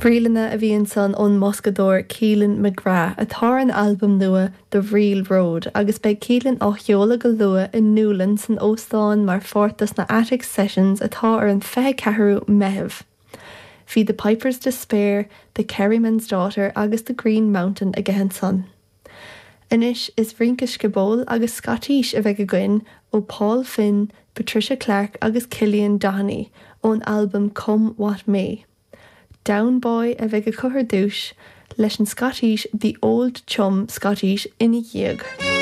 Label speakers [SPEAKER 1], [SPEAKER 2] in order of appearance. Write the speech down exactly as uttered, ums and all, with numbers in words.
[SPEAKER 1] Bríleanna a bhí ansan ón mboscadóir Keelan McGrath atá ar an albam nua The Real Road agus beidh Keelan á sheoladh go luath i nDúlainn san óstán mar pháirt de na Attic Sessions atá ar an fiche ceathrú Meitheamh. Bhí The Piper's Despair, The Kerryman's Daughter agus The Green Mountain aige ansan. Anois is rince sciobóil agus Scotís a bheidh againn ó Paul Finn, Patricia Clark agus Killian Doheny ón albam Come What May. Down Boy a bheidh acu ar dtús leis an Scotís The Old Chum Scotís ina dhiaidh.